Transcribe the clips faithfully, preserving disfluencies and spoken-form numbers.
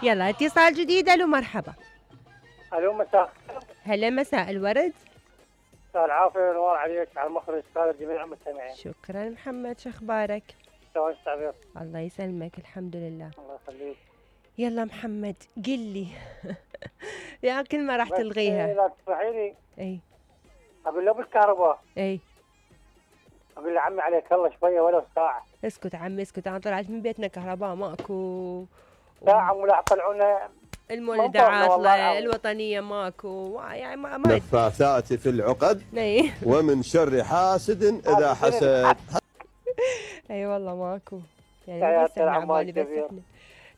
يلا اتصال جديد. الو مرحبا. الو مساء. هلا مساء الورد. مساء العافيه والنور عليك على المخرج استاذ جميع المستمعين. شكرا محمد، شو اخبارك؟ شلون التعبير؟ الله يسلمك الحمد لله. الله يخليك. يلا محمد قل لي يا كلمة راح تلغيها. لا تسمحي لي. اي اقول له بالكهرباء. اي اقول له عمي عليك الله شويه ولو ساعه. اسكت عمي اسكت، انا طلعت من بيتنا كهرباء ماكو. ساعه ولا طلعونا المولدات الوطنيه ماكو يعني ما ما نفاثات في العقد ومن شر حاسد اذا حسد. اي والله ماكو يعني. تحياتنا لعمال بس احنا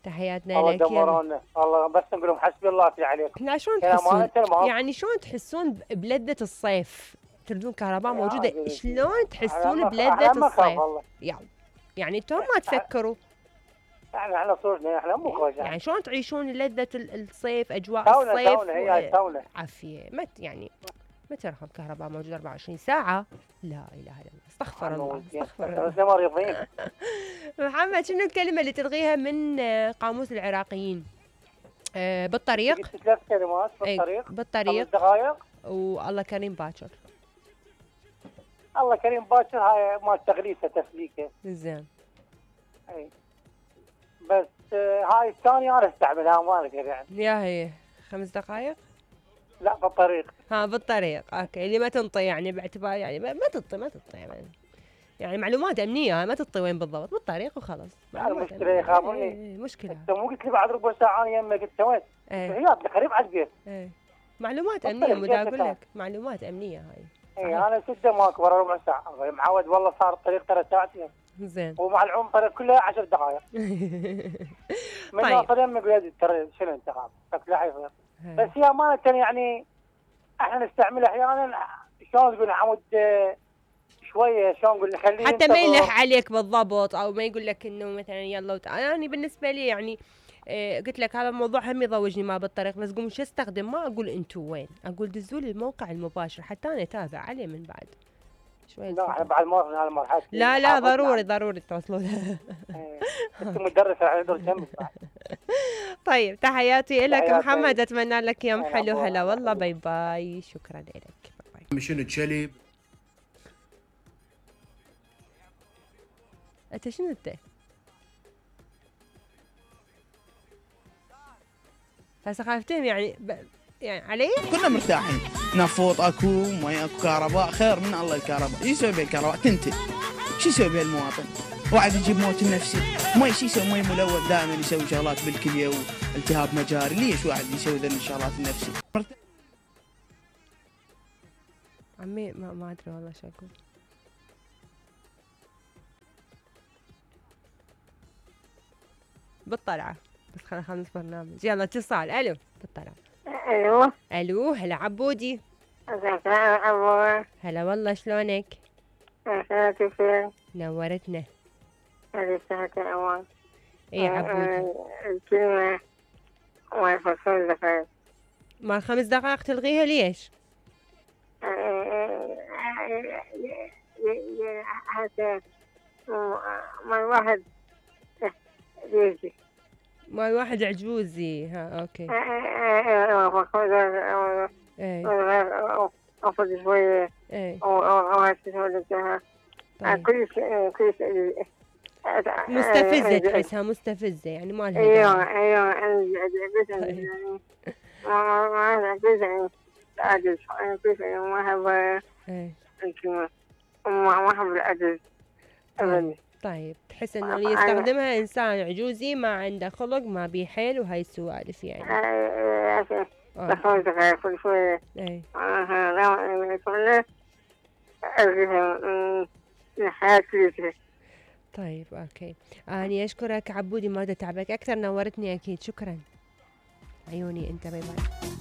تحياتنا الله لك. الله الله بس نقول لهم حسبي الله في عليك. احنا شلون تحسون يعني شلون تحسون بلذة الصيف؟ تردون كهرباء موجودة، شلون تحسون بلذة الصيف؟ يعني يعني انتم ما تفكروا يعني احنا صورنا احنا مو خوش يعني شلون تعيشون لذة الصيف، اجواء الصيف؟ تونا هي تونا عافية مت يعني متى رقم كهرباء موجود أربعة وعشرين ساعة؟ لا اله الا الله، استغفر الله استغفر الله. احنا مريضين. محمد شنو الكلمة اللي تلغيها من قاموس العراقيين؟ آه بالطريق. قلت ثلاث كلمات بالطريق. بالطريق. خمس دقائق. والله كريم باكر. الله كريم باكر هاي مال تغليفه تسليكه. زين. اي بس هاي الثانية أنا استعملها ما أقدر يعني. يا هي خمس دقائق؟ لا بالطريق. ها بالطريق، أوكي اللي ما تنطي يعني باعتبار يعني ما تنطي ما تنطي يعني يعني معلومات أمنية ما تنطي وين بالضبط، بالطريق وخلاص. المشكلة يخافوني. ايه مشكلة. أنت مو قلت لي بعد ربع ساعة أنا يمك أنت وين؟ ايه هي قريب على البيت. ايه معلومات أمنية ودا أقول لك معلومات أمنية هاي. اي أنا سدة ماكو ورا ربع ساعة، معود والله صار الطريق ثلاث ساعتين. زين. ومع العمر الطريق كلها عشر دقائق. من طيب. أصل يمك بيد ترى شنو أنت خاف؟ شكلها حيصير. بس هي أمانة يعني احنا نستعملها أحيانا شلون تقول عمود شويه شلون نقول نخليه حتى ما يلح عليك بالضبط او ما يقول لك انه مثلا يلا وت... انا يعني بالنسبه لي يعني آه قلت لك هذا الموضوع هم يضوجني ما بالطريق، بس قوم شو استخدم ما اقول انتم وين، اقول دزوا لي الموقع المباشر حتى انا اتابع عليه من بعد شوي. لا احنا بعد ما وصلنا هالمرحله. لا لا ضروري ضروري توصلون. انت مدرسه على دور جنبك. طيب تحياتي لك محمد، اتمنى لك يوم حلو. هلا والله باي باي، شكرا لك. باي باي. شنو تشلي؟ انت شنو انت؟ هسه خايفتين يعني ب... يعني علي؟ كنا مرتاحين، نفوط اكو، مي اكو، كهرباء، خير من الله الكهرباء. ايش يسوي بها الكهرباء؟ تنتج. شو يسوي بها المواطن؟ واحد يجيب موت النفسي، مي شو يسوي؟ مي ملوث دائما يسوي شغلات بالكليه والتهاب مجاري، ليش واحد يسوي ذي الشغلات النفسي؟ عمي ما ما ادري والله شو اقول. بالطلعة بس خلينا نخلص برنامج. يلا اتصال. الو بالطلعة. الو الو هلا عبودي. ازيك يا عبود؟ هلا والله شلونك؟ عساك فين؟ نورتنا. هذه الساعة الأول. اي عبودي. الكلمة مال خمس دقائق. مال خمس دقائق تلغيها ليش؟ حتى مال واحد عجوزي. مال واحد عجوزي. ها اوكي. ايه افضل شوية. ايه او او هالشيء كل شيء كل شيء مستفزة، تحسها مستفزة يعني ما لها. ايوه ايوه انا ما ما ما العجز كيف ما احب الكلمة ما ما احب العجز ابدا. طيب تحس انه اللي يستخدمها انسان عجوزي ما عنده خلق ما بيه حيل وهاي السوالف يعني. ايه خمس دقائق كل شوية. ايه اها لا يكون الحياة كلها. طيب اوكي اني اشكرك عبودي، ما بدي اتعبك اكثر، نورتني اكيد. شكرا عيوني انت. باي باي.